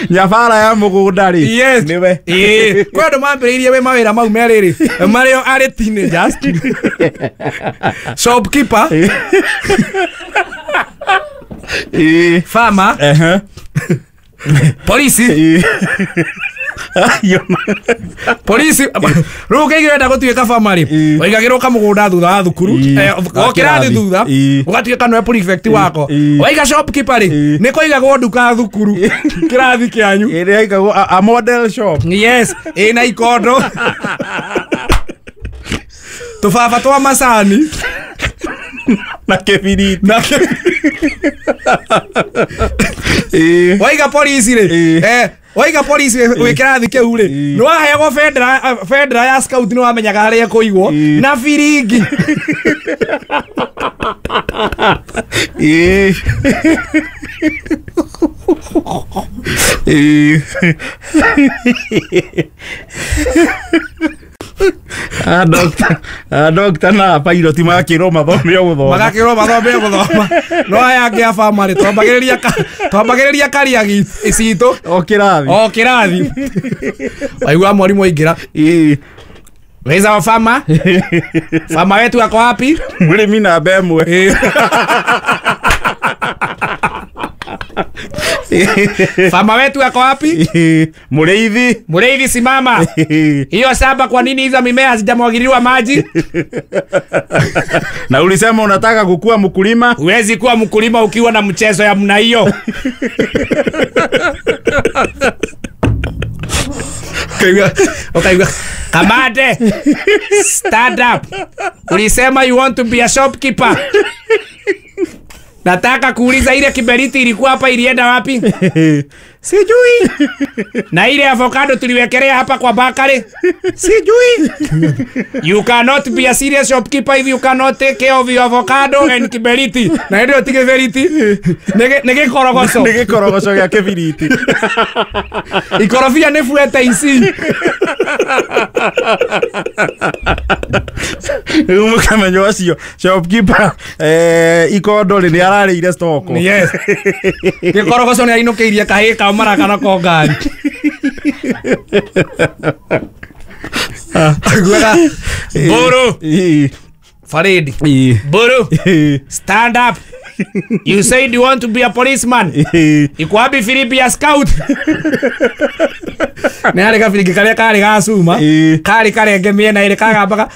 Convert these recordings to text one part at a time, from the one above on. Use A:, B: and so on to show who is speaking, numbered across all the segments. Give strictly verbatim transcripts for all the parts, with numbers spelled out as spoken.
A: Nyabara ya mũgũnda rĩ.
B: Yes.
A: Nĩwe.
B: Ĩĩ, kwĩ andũ mambĩrĩirie wĩ mawĩra mau merĩ rĩ, marĩo arĩ teenagers. Shopkeeper,
A: Ĩĩ.
B: farmer,
A: Ehe.
B: polisi.
A: Ĩĩ. Ayo.
B: Polisi rĩu ũngĩigua wenda gũtuĩka farmer rĩ,
A: Ĩĩ.
B: waigagĩrwo kamũgũnda thutha wa thukuru,
A: Ĩĩ.
B: eh, o kĩrathi thutha,
A: Ĩĩ.
B: ũgatuĩka nĩwe prefect wako.
A: Ĩĩ.
B: Waiga shopkeeper rĩ,
A: Ĩĩ.
B: nĩ kũigagwo nduka thukuru kĩrathi kĩanyu.
A: Ĩrĩa ĩigagwo a, a model shop.
B: Yes, ĩna ikondo, tũbaba twa macani
A: na kĩbiriti.
B: Na
A: Ĩĩ.
B: waiga polisi rĩ,
A: Ĩĩ.
B: eh, waiga polisi wĩ kĩrathi kĩu rĩ,
A: Ĩĩ.
B: nĩ waheagwo bendera, bendera ya scout, nĩ wamenyaga harĩa ĩkũigwo
A: Ĩĩ.
B: na biringi.
A: Ĩĩ. Ĩĩ. Ah, doctor, ah, doctor na pilot magakĩrwo mathome o gũthoma.
B: Magakĩrwo mathome o gũthoma, no aya angĩ a bamĩrĩ twambagĩrĩria ka- twambagĩrĩria karia citũ
A: O kĩrathi.
B: O kĩrathi. Waigua mwarimũ aingĩra,
A: Ĩĩ.
B: "Where's our farmer? Farmer wetu ako wapi?"
A: Mũrĩmi namba ĩmwe.
B: Ĩĩ. "Farmer wetu ako wapi?"
A: Ĩĩ. Mũrĩithi.
B: "Mũrĩithi, simama.
A: Ĩĩ.
B: Hiyo shamba, kwa nini hizo mimea hazijamwagiliwa maji?"
A: Na ulisema unataka kukua mkulima.
B: "Huwezi kuwa mkulima ukiwa na mchezo ya mna hiyo." Ukaigua, ukaigua, "Kamande, stand up. Ulisema you want to be a shopkeeper. Nataka kuuliza, ile kiberiti ilikuwa hapa ilienda wapi?" "Sijui." "Na ile avocado tuliwekelea hapa kwa bakari?" "Sijui." "You cannot be a serious shopkeeper if you cannot take care of your avocado and kiberiti." Na ndio ti kiberiti. Nĩ nĩ gĩkorogoco.
A: Nĩ gĩkorogoco gĩa kĩbiriti.
B: Ikorobia nĩ fuete ici.
A: Rĩu mũkamenya ũcio shopkeeper, eh, ikondo rĩ, nĩ ararĩire stock.
B: Yes. Gĩkorogoco nĩ ainũkĩirie kahĩĩ kao maraka nako ngari. Aiguaga, "Mbũrũ."
A: Ĩĩ.
B: Faridi.
A: Ĩĩ.
B: "Mbũrũ.
A: Ĩĩ.
B: Stand up. You said you want to be a policeman.
A: Ĩĩ.
B: Iko wapi firimbi ya scout?" Nĩ harĩ gabiringi karĩa karĩ ga cuma,
A: Ĩĩ.
B: karĩ karenge mĩena ĩrĩ, kagambaga.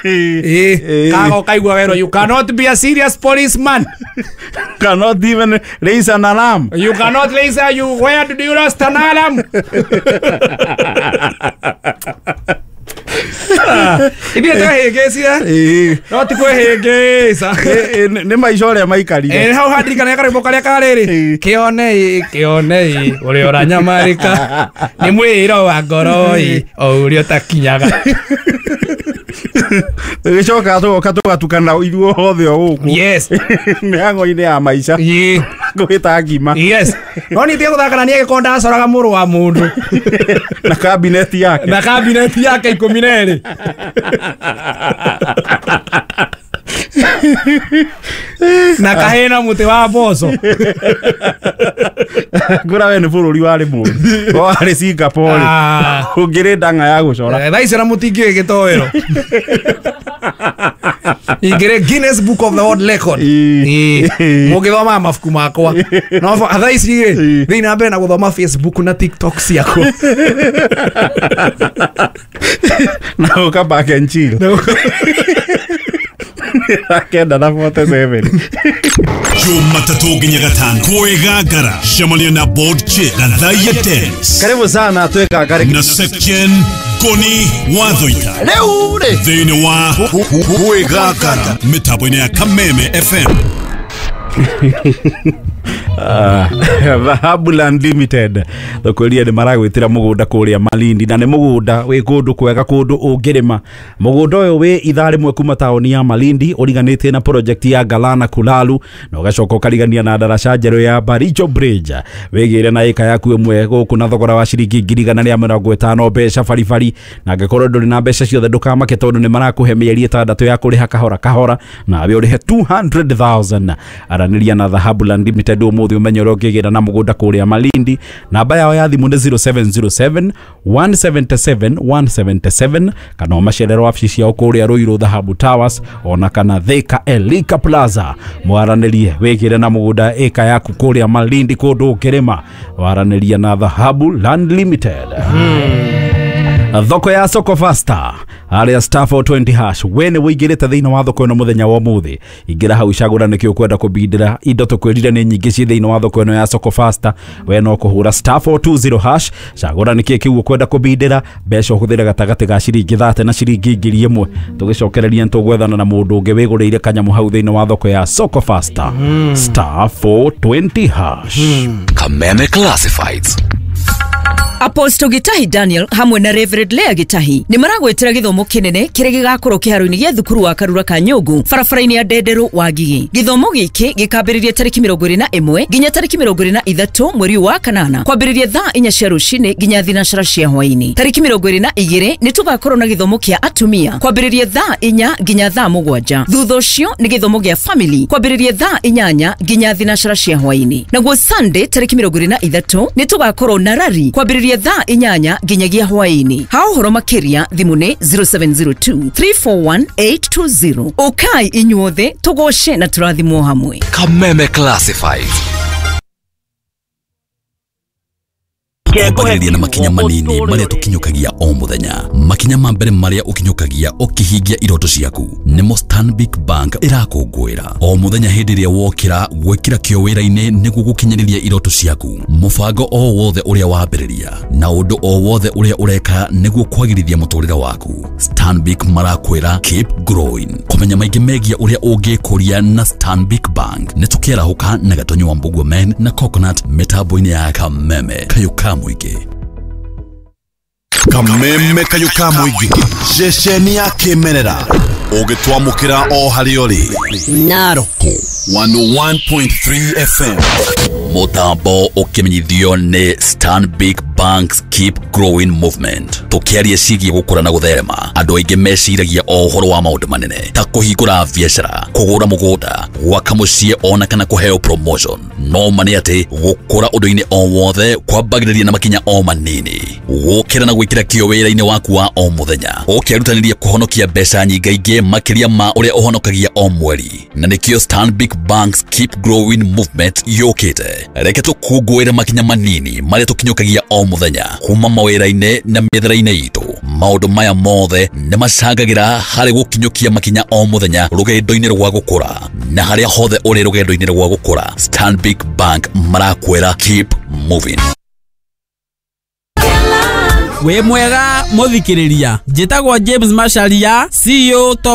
B: Ĩĩ.
A: Ĩĩ.
B: Kaga ũkaigua werwo, "You cannot be a serious policeman."
A: Cannot even raise an alarm.
B: "You cannot raise a, you, where did you lost an alarm?" Ithuĩ twehĩngĩcire.
A: Ĩĩ.
B: No ti kwĩhĩngĩca.
A: Ĩĩ, nĩ nĩ maica ũrĩa maikarire.
B: Ĩ, hau handirikana karwĩmbo karĩa karĩrĩ,
A: Ĩĩ.
B: kĩone ĩ, kĩone ĩ, ũrĩa ũranyamarĩka nĩ mwĩro wa ngoro ĩ, o ũrĩa ũtakinyaga.
A: Gĩcokaga tũgoka tũgatukana ithuothe o gũkũ
B: Yes.
A: mĩhang'o-inĩ ya maica,
B: Ĩĩ.
A: gwĩta ngima.
B: Yes, no niĩ tiga gũthaka na niĩ agĩkorwo ndacoraga mũrũ wa mũndũ
A: na kabineti yake.
B: Na kabineti yake ikũmi na ĩrĩ na kahĩ na mũtĩ wa mboco.
A: Ngũra we nĩ bũrũri warĩ mũru, warĩ Singapore.
B: Ah.
A: Ũngĩrĩ ndang'a ya gũcora.
B: Eh, thaa ici ona mũtingĩũĩ gĩtoero, ingĩrĩ Guinness Book of the World Record.
A: Ĩĩ.
B: Ĩĩ. Mũngĩthomaga mabuku makwa, no thaa ici rĩ,
A: Ĩĩ.
B: thiĩ na mbere na gũthoma Facebook na TikTok ciakwa.
A: Na ũka back and chill kenda na mĩrongo ĩnana na seven.
C: Jumatatu nginya gatano kwĩgangara, cemania na Board Chick Gathaiya Dennis
D: Karibu sana twĩgangare.
C: Na Section Ngoni Wathoita.
D: Rĩu rĩ,
C: thĩinĩ wa Kwĩgangara mĩtambo-inĩ ya Kameme F M.
A: Ah, Dhahabu Land Limited thokweria nĩ maragwĩtĩra mũgũnda kũrĩa Malindi, na nĩ mũgũnda wĩ kũndũ kwega, kũndũ ũngĩrĩma. Mũgũnda ũyũ wĩ ithaa rĩmwe kuma taũni ya Malindi, ũriganĩtie na project ya Galana Kulalu, na ũgacoka ũkarigania na ndaraca njerũ ya Baricho Bridge. Wĩgĩre na ĩka yaku ĩmwe gũkũ na thogora wa ciringi ngiri igana rĩa mĩrongo ĩtano mbeca baribari, na angĩkorwo ndũrĩ na mbeca ciothe ndũkamake, tondũ nĩ marakũhe mĩeri ĩtandatũ ya kũrĩha kahora kahora, nawe ũrĩhe two hundred thousand. Aranĩria na Dhahabu Land Limited ũmũthĩ ũmenye ũrĩa ũngĩgĩra na mũgũnda kũrĩa Malindi. Namba yao ya thimũ nĩ zero seven zero seven, one seven seven, one seven seven, kana ũmacerere wabici ciao kũrĩa Ruiru Dhahabu Towers, ona kana Thika Elika Plaza. Mwaranĩrie wĩgĩre na mũgũnda ĩka yaku kũrĩa Malindi, kũndũ ũngĩrĩma. Waranĩria na Dhahabu Land Limited. Thoko ya Soko Fasta aria star four twenty hash, we nĩ wĩingĩrĩte thĩinĩ wa thoko ĩno mũthenya wa ũmũthĩ, ingĩra hau cagũra nĩkĩ ũkwenda kũbindĩra. Indo tũkwĩrire nĩ nyingĩ ciĩ thĩinĩ wa thoko ĩno ya Soko Fasta. We no kũhũra star four two zero hash, cagũra nĩkĩ kĩu ũkwenda kũbindĩra, mbeca ũhũthĩre gatagatĩ ga ciringi thate na ciringi ngiri ĩmwe. Tũgĩcokereria nĩtũgwethana na mũndũ ũngĩ wĩgũrĩire kanyamũ hau thĩinĩ wa thoko ya Soko Fasta. Star four twenty hash.
E: Kameme Classifieds.
F: Apostle Gitahi Daniel hamwe na Reverend Lea Gitahi nĩ maragwĩtĩra gĩthomo kĩnene kĩrĩa gĩgakorwo kĩharo-inĩ gĩa thukuru wa Karura ka Nyũngũ barabara-inĩ ya Ndenderũ wa Ngigĩ. Gĩthomo gĩkĩ gĩkambĩrĩria tarĩki mĩrongo ĩrĩ na ĩmwe nginya tarĩki mĩrongo ĩrĩ na ithatũ mweri wa kanana, kwambĩrĩria thaa inya cia rũcinĩ nginya thinacara cia hwaĩ-inĩ. Tarĩki mĩrongo ĩrĩ na igĩrĩ nĩ tũgakorwo na gĩthomo kĩa atumia kwambĩrĩria thaa inya nginya thaa mũgwanja. Thutha ũcio nĩ gĩthomo gĩa family kwambĩrĩria thaa inyanya nginya thinacara cia hwaĩ-inĩ. Naguo Sunday tarĩki mĩrongo ĩrĩ na ithatũ nĩ tũgakorwo na rari kwambĩrĩria thaa inyanya nginyagia hwaĩ-inĩ. Ha ũhoro makĩria thimũ nĩ zero seven zero two, three four one, eight two zero. Ũkai inyuothe tũgoce na tũrathimwo hamwe.
E: Kameme Classifieds. Kwambagĩrĩria na makinya manini marĩa tũkinyũkagia o mũthenya. Makinya ma mbere marĩa ũkinyũkagia ũkĩhingia iroto ciaku nĩmo Stanbic Bank ĩrakũngũĩra o mũthenya. Hĩndĩ ĩrĩa wokĩra gwĩkĩra kĩo wĩra-inĩ nĩguo gũkinyanĩria iroto ciaku, mũbango o wothe ũrĩa wambĩrĩria na ũndũ o wothe ũrĩa ũreka nĩguo kwagĩrithia mũtũrĩre waku, Stanbic marakwĩra keep growing. Kũmenya maingĩ megiĩ ũrĩa ũngĩkũria na Stanbic Bank nĩ tũkĩarahũka na Gatonyo wa Mbugua Men na Coconut mĩtambo-inĩ ya Kameme Kayũ ka Mũingĩ.
C: Kameme Kayũ ka Mũingĩ, ceceni ya kĩmerera ũgĩtwamũkĩra o harĩa ũrĩ.
F: Narok
C: one oh one point three F M.
E: Mũtambo ũkĩmenyithio nĩ Stanbic Bank's Keep Growing Movement. Tũkĩaria ciĩgiĩ gũkũra na gũtherema, andũ aingĩ meciragia o ũhoro wa maũndũ manene ta kũhingũra biacara, kũgũra mũgũnda, gwaka mũciĩ ona kana kũheo promotion. No ma nĩ atĩ gũkũra ũndũ-inĩ o wothe kwambagĩrĩria na makinya o manini. Gũkĩra na gwĩkĩra kĩo wĩra-inĩ waku wa o mũthenya, ũkĩrutanĩria kũhonokia mbeca nyingaingĩ makĩria ma ũrĩa ũhonokagia o mweri. Na nĩkĩo Stanbic Bank's Keep Growing Movement yũkĩte. Reke tũkũngũĩre makinya manini marĩa tũkinyũkagia o mũthenya kuma mawĩra-inĩ na mĩethere-inĩ itũ. Maũndũ maya mothe nĩ macangagĩra harĩ gũkinyũkia makinya o mũthenya rũgendo-inĩ rwa gũkũra. Na harĩa hothe ũrĩ rũgendo-inĩ rwa gũkũra, Stanbic Bank marakwĩra keep moving.
G: Wĩ mwega mũthikĩrĩria, njĩtagwo James Macharia, C E O Top